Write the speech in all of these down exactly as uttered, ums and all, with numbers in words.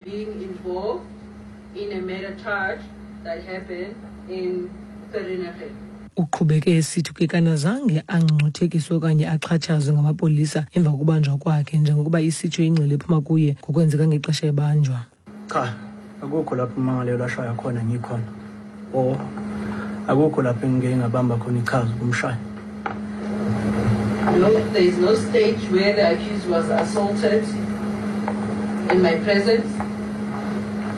Being involved in a murder charge that happened in Vereeniging. Uqhubeke esithi uKekana zange angcungcuthekiswe okanye axhatshazwe ngamapolisa emva kokubanjwa kwakhe, njengokuba isitsho ingxelo ephuma kuye ngokwenzeka ngexesha ebanjwa. Cha, akukho lapho ummangalelwa ashaya khona ngikhona, or akukho lapho engike ngabamba khona ichaza ukumshaya. No, there is no stage where the accused was assaulted in my presence,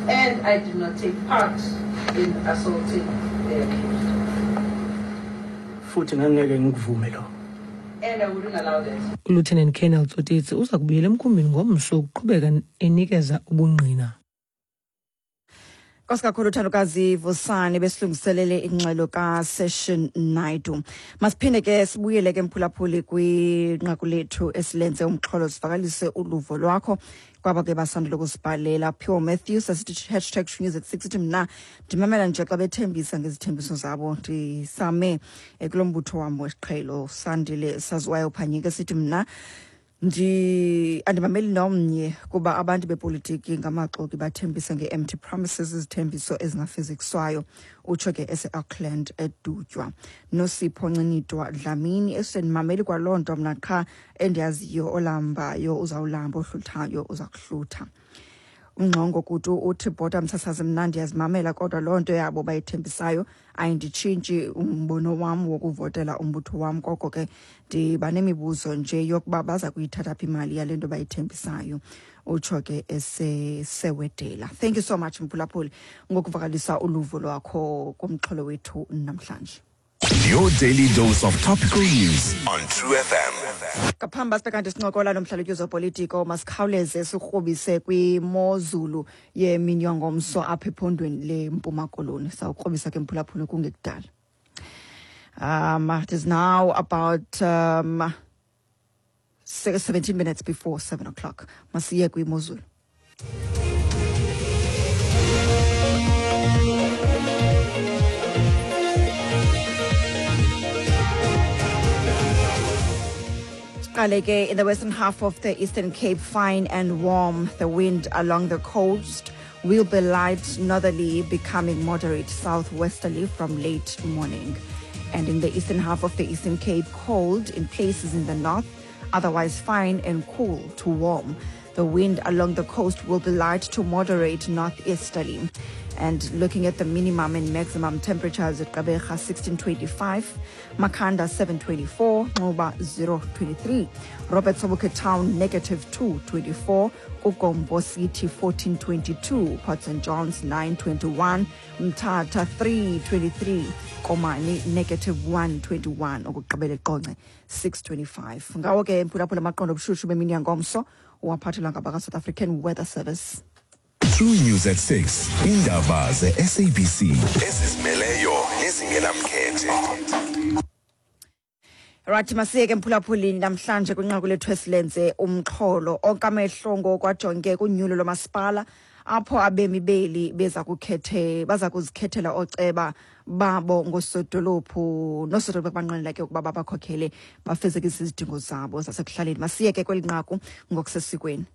and I did not take part in assaulting the accused. Futhi ngangeke ngikuvume lo. And I wouldn't allow that. ULieutenant Colonel Tsotetsi uza kubuyela emkhumbini ngomso ukuqhubeka enikeza ubungqina. Nkosi kakhulu Thandokazi Vusani besilungiselele ingxelo kaSession Naidu. Masiphinde ke sibuyele ke mphulaphuli kwinqaku lethu esilenze umxholo, sivakalise uluvo lwakho kwaba ke basandula ukusibhalela. Pure Matthews asithi hashtag news at six, ithi mna ndimamela nje xa bethembisa ngezithembiso zabo, ndisame kulo mbutho wam wesiqhelo. Sandile Saziwayo Phanyika sithi mna ndi andimameli nomnye kuba abantu bepolitiki ngamaxoki, bathembisa nge-empty promises, izithembiso ezingafezekiswayo, utsho ke ese-Auckland eDutywa. Nosipho Ncinitwa Dlamini esendimameli kwaloo nto mna, qha endiyaziyo olambayo uzawulamba, ohluthayo uza kuhlutha. Ungxongo Kutu uthi bhota msasazi, mna ndiyazimamela kodwa loo nto yabo bayithembisayo ayinditshintshi umbono wam wokuvotela umbutho wam, koko ke ndiba nemibuzo nje yokuba baza kuyithatha phi imali yale nto bayithembisayo, utsho ke esesewedela. Thank you so much mphulaphuli ngokuvakalisa uluvo lwakho kumxholo wethu namhlanje. Your daily dose of topical news on True F M. Ngaphambi sibe kanti sincokola nomhlalutyi wezopolitiko, masikhawuleze sikrobise kwimozulu yemini yangomso apha ephondweni leMpuma Koloni. Sawukrobisa ke mphulaphuli kungekudala. Um, it is now about um, seventeen minutes before seven o'clock. Masiye kwimozulu. In the western half of the Eastern Cape, fine and warm. The wind along the coast will be light northerly, becoming moderate southwesterly from late morning. And in the eastern half of the Eastern Cape, cold in places in the north, otherwise fine and cool to warm. The wind along the coast will be light to moderate northeasterly. And looking at the minimum and maximum temperatures at Gqeberha sixteen twenty-five, Makhanda seven twenty-four, Nxuba zero twenty-three, Robert Sobukwe Town negative two twenty-four, Kugombo City fourteen twenty-two, Port Saint John's nine twenty-one, Mthatha three twenty-three, Komani negative one twenty-one, okugqibela eQonce six twenty-five. Ngawo ke mphulaphula amaqondo obushushu bemini yangomso uwaphathelwa ngabaka South African Weather Service. True News at six. Indaba ze-S A B C ezizimeleyo nezingenamkhethe. Right, masiyeke mphulaphulini namhlanje kwinqaku lethu esilenze umxholo onke amehlo ngokwajonge kunyulo lomasipala apho abemi beli beza kukhethe baza kuzikhethela ooceba babo ngosodolophu nosodolophu abanqwenela ke ukuba babakhokhele bafezekise izidingo zabo zasekuhlaleni. Masiyeke kweli nqaku ngokusesikweni.